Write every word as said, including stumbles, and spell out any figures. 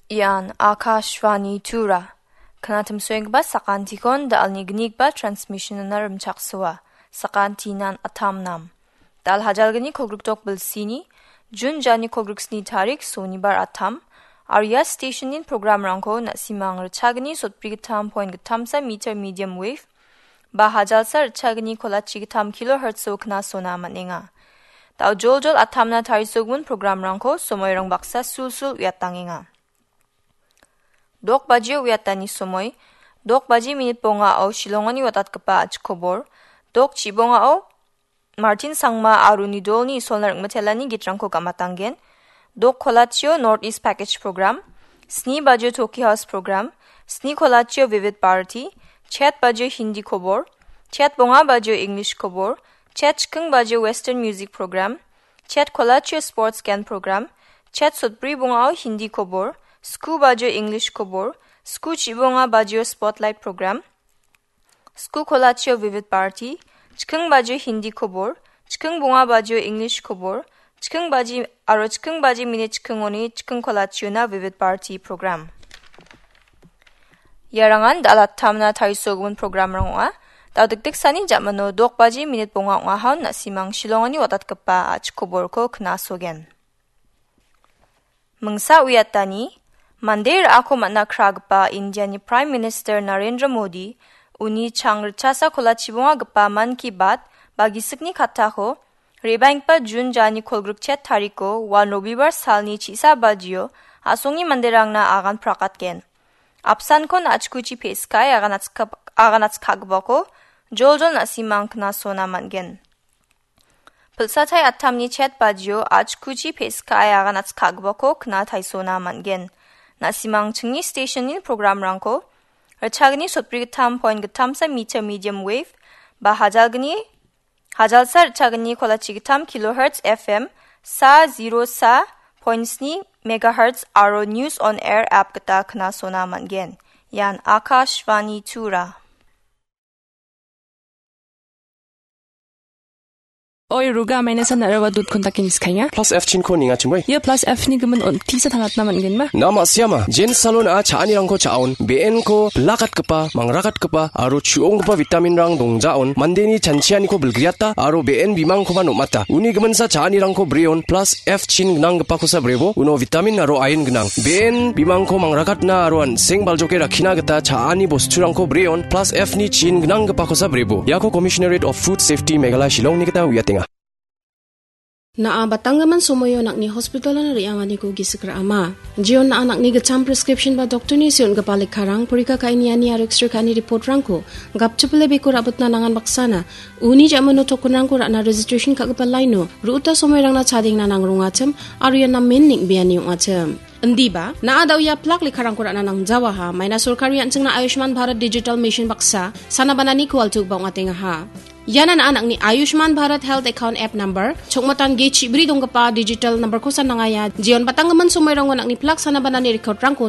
Ian Akashvani Tura. Kanatimsoenggipa sakantikon da·alni gnigipa transmission-ona rimchaksoa. Sakantinan atamnam. Dal hajalgni kolgrikdok bilsini, Jun jani kolgriksni tarik sonibar atam, aro ia station-in programrangko na·simang ritchagni sotbrigittam point gittamsa meter medium wave, ba hajalsa ritchagni kolachi gittam kilohertz-o knasona man·enga. Da·o joljol atamna tarisogimin programrangko somoirang baksa sulsul uiatangenga. Dok bajio uiatani somoi, dok baji minit bongao Shillongoni watatgipa achikobor, dok chibongao Martin Sangma aro uni dolni isolna ringmitelani gitrangko gamatanggen. Dok kolachio North East Package Program, sni bajio Toki House Program, sni kolachio Vivid Bharati, chet bajio Hindi kobor, chet bonga bajio English kobor, chet chiking bajio Western Music Program, chet kolachio Sports Gan Program, chet sotbri bongao Hindi kobor, sku bajio English kobor, sku chibonga bajio Spotlight Program, sku kolachio Vivid Bharati, chiking bajio Hindi kobor, chiking bonga bajio English kobor, chiking baji aro chiking baji minit chikingoni chiking kolachiona Vivid Bharati program. Iarangan dal atamna tarisogimin programrang ong·a. Dal dikdiksani jamano dok baji minit bonga ong·ahon na·simang Shillongoni watatgipa a·chik koborko knasogen. Mingsa uiatani, mande ra·ako man·a kragipa Indiani Prime Minister Narendra Modi, uni chang ritchasa kolachibongagipa Mann Ki Baat ba gisikni kattako, re·baenggipa Jun jani kolgrikchet tariko, wan Robibar salni chisa bajio, a·songni manderangna agan prakatgen. Apsankon a·chikuchi pe·sikae agan atska-, agan atskagipako, joljol na·simang knasona man·gen. Pilsatai atamni chet bajio a·chikuchi pe·sikae agan atskagipako kna taisona man·gen. Na·simang chingni stationni programrangko, ritchagni sotbrigittam point gittamsa meter medium wave, ba hajalgni, hajalsa ritchagni kolachi gittam kilohertz F M, sa zero sa point sni megahertz aro News on Air app gita knasona man·gen. Ian Akashvani Tura. Oi, Ruga, maina san narawa dot kontakin skainga. Plus F chinko ninga chimoi. Ia plus F ni gimin on tisa tangatna man·genma? Na ma·siama. Jen salon a cha·anirangko cha·on. Be·enko bilakatgipa, mangrakatgipa, aro chu·onggipa vitaminrang dongjaon. Mandeni chanchianiko bilgriata, aro be·en bimangkoba nom·ata. Uni giminsa cha·anirangko breon, plus F chin gnanggipakosa brebo, uno vitamin aro iron gnang. Be·en bimangko mangrakatna aro an·seng baljoke rakkina gita cha·ani bosturangko breon, plus F ni chin gnanggipakosa brebo. Iako Commissionerate of Food Safety Meghalaya Shillongni gita uiatenga. Na·a batanggimin somoio nang·ni hospitalon re·anganiko gisik ra·ama. Jeon na·a nang·ni gitcham prescription ba doktorni seon·gipa lekkarang, porika ka·e niani aro X-ray ka·ani reportrangko gapchipile beko ra·bitna nangan baksana, uni ja·mano tokenrangko ra·na registration ka·gipa laino, ru·uta somoirangna chadengna nangrongachim, aro ian namen neng·beani ong·achim. Indiba, na·a da·o ia plak lekkarangko ra·na nangjawaha, maina sorkari an·chingna Ayushman Bharat Digital Mission baksa, sana banani kualtugipa ong·atengaha. Iana na·a nang·ni Ayushman Bharat Health Account App Number, chokmatan ge chibri donggipa digital numberkosa nangaia, jeon batanggimin somoirango nang·ni plak sana banani recordrangko